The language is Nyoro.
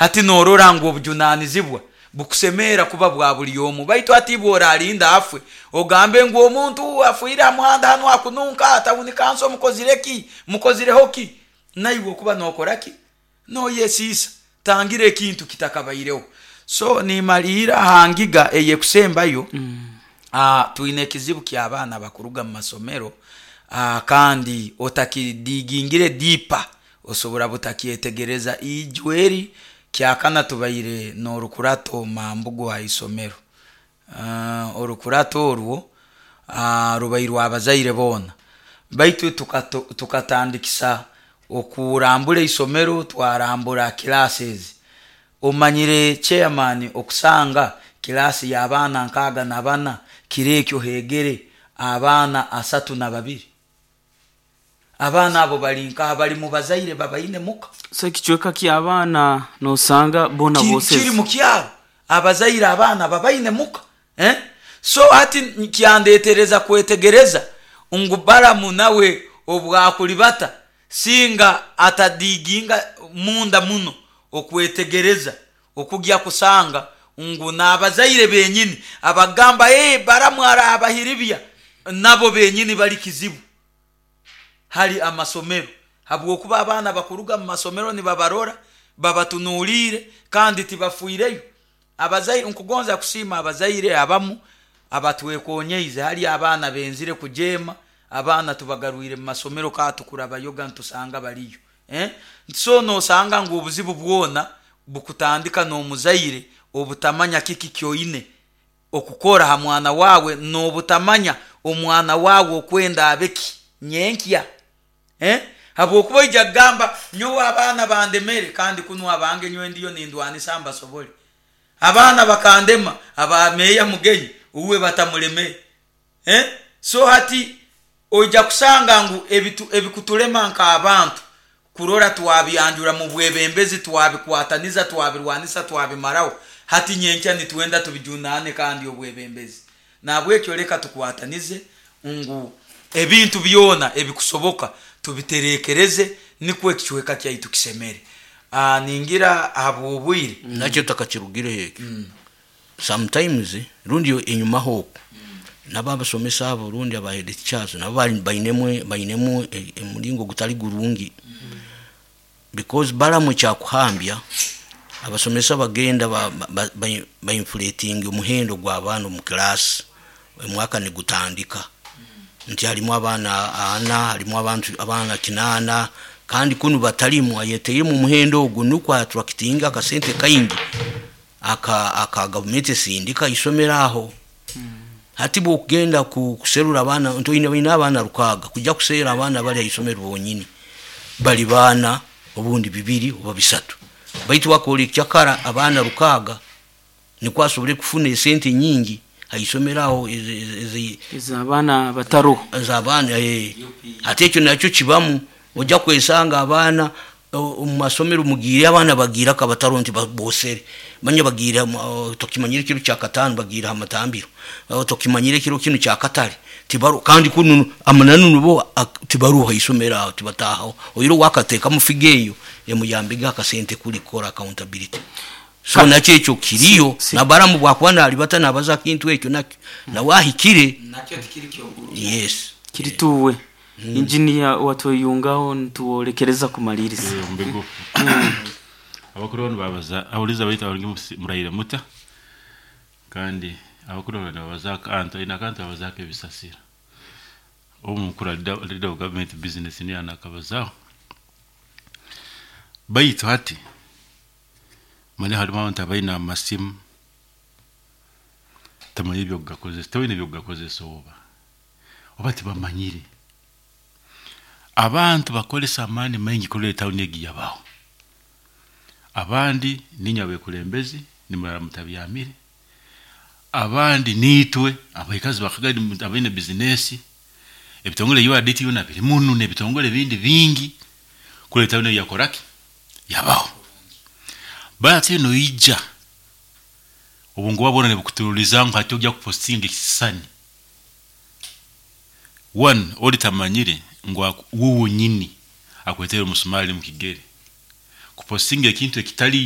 Hati norora ngu obujunanizibwa bukusemeera kuba bwa buli omu, baitu hati ibwe oralinda afwe ogambe ngu omuntu afiire ha muhanda hanu akununka, tawuni kanso mukozire ki, mukozireho ki? Naiwe okuba nokora ki? Noyesiisa. Tangira ekintu kitakabaireho. So nimaliira ha ngiga eyekusembayo, twine ekizibu ky'abaana abakuruga mu masomero kandi otakidigingire deeper osobora butakyetegereza. Iju eri kyakana tubaire n'orukurato Mambugu ha isomero. Orukurato orwo rubaire rw'abazaire boona, baitu tukatandikisa okurambura isomero, twarambura classes. Omanyire chairman okusanga kilaasi y'abaana 64 kiro ekyo hegere abaana 32. Abaana abo bali nkaha? Bali mu bazaire babaine muka. So ekicweka ky'abaana nosanga boona Kiri boseze. Mu kyaro, abazaire abaana babaine muka, eh? So hati kyandetereza kwetegereza ngu Balamu nawe obwakulibata singa atadiginga munda muno okwetegereza okugya kusanga ngu n'abazaire benyini abagamba, hey, Balamu arabahiribya, nabo benyini bali kizibu hali amasomero, habwokuba abaana bakuruga mu masomero nibabarora babatunuliire kandi tibafiireyo. Abazaire, nkugonza kusiima abazaire abamu abatwekonyeize hali abaana benzire kujeema, abaana tubagarwire mu masomero ka tukurabayoga nitusanga baliyo, eh? So nosanga ngu obuzibu bwona bukutandika n'omuzaire obutamanya kiki kyoine okukora ha mwana wawe, n'obutamanya omwana wawe okwenda abeki nyenkya, eh? Habwokuba oija kugamba nyowe abaana bandemere, kandi kunu abange nyowe ndiyo nindwanisa mbasobole. Abaana bakandema, aba meeya Mugenyi uwe batamulemere, eh? So hati oija kusanga ngu ebikutulema nk'abantu kurora twabyanjura mu bwebembezi, twabikwataniza, twabirwanisa, twabimaraho, hati nyenkya nitwenda tubijunane kandi obwebembezi. Nahabwekyo leka tukwatanize ngu ebintu byona ebikusoboka tubiterekereze nikwo ekicweka kyaitu kisemere. Ningira ahabw'obwire. Nakyo takakirugireho ekyo. Sometimes rundi enyumaho oku nabo abasomesa abo rundi aba head teachers nabo bainemu omulingo gutali gurungi, because Balamu ekyakuhambya abasomesa bagenda bainflating omuhendo gw'abaana omu class omwaka nigutandika, nti harimu abaana ana, harimu abantu abaana 8, kandi kunu batalimu, ayeteiremu omuhendo ogu nukwo attractinga akasente kaingi aka gavumenti esindika isomero aho. Hati bwokugenda kuserura abaana nti oine baine abaana 600, kujja kuseera abaana bali haisomero bonyini bali baana obundi 2 oba 3, baitu wakora ekyakara abaana 600 nikwo asobole kufuna esente nyingi haisomero aho. Ez'abaana bataroho. Ez'abaana, eh. Hati ekyo nakyo kibamu, ojja kwesanga abaana omu masomero mugiire abaana bagiire akabataro nti bosere manya bagiire tokimanyire ekiro kyakataano bagiire ha matambiro, tokimanyire ekiro kinu kyakatale tibaroho, kandi kunu amananu nubo tibaroho haisomero aho, tibatahaho, oihireho wakatekamu figa eyo emuyambege akasente kuli kukora accountability. So nakyo ekyo kiriyo, na Balamu bwakuba nalibata nabaza kintu ekyo nakyo nawe ahikire. Nakyo tikiri kyoguru. Yes. Kirituwe. Engineer watweyungaho nituwolekereza kumaliriza. Omu bigufu, abakuru banu babaza ahuliza baitu abarugi muraire muta, kandi abakuru banu nibabaza akantu aine akantu babazaako ebisasiro. Obu mukuru leader of government business niyo anakabazaho, baitu hati manya harimu abantu abaine amasimu tamanya ebyokugakozesa, toine ebyokugakozesa oba tibamanyire. Abantu bakozesa amaani maingi kurora etawuni egi yabaho. Abandi ninywe abekulembezi nimurara mutabyamire, abandi niitwe abaikazi bakagari abaine bizinesi, ebitongole URDT byona biri munu n'ebitongole ebindi bingi kurora etawuni egi yakoraki, yabaho. Bati noija obunguba bwona nibukuturuliza ngu hati ojja kupostinga ekisisani. One, ori tamanyire ngu wuwe nyini akwetere omusumali mu kigere kupostinga ekintu ekitaliyo.